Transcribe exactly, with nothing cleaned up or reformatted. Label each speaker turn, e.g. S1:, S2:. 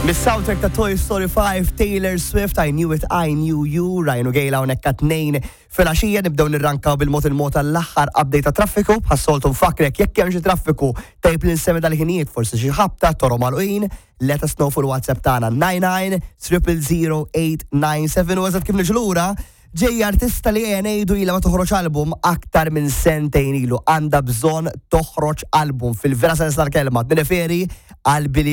S1: Mis-soundtrack ta' Toy Story five, Taylor Swift, I Knew It, I Knew You, Ryan u Gail hawnhekk għat-tnejn filgħaxija. Nibdew nirrankaw bil-mod il-mod għall-aħħar update ta' traffiku. Bħas-soltu nfakkrek, jekk hemm xi traffiku tajb li nsemmi dal-ħinijiet, forsi xi ħabta, toroq magħluqin, let us know fuq il-WhatsApp tagħna nine nine zero zero eight nine seven. U eżatt kif niġu lura, ġej artista li ngħidu ilha ma toħroġ album aktar minn sentejn ilu. Għandha bżonn toħroġ album fil-vera sens tal-kelma. Nirreferi għal Billie.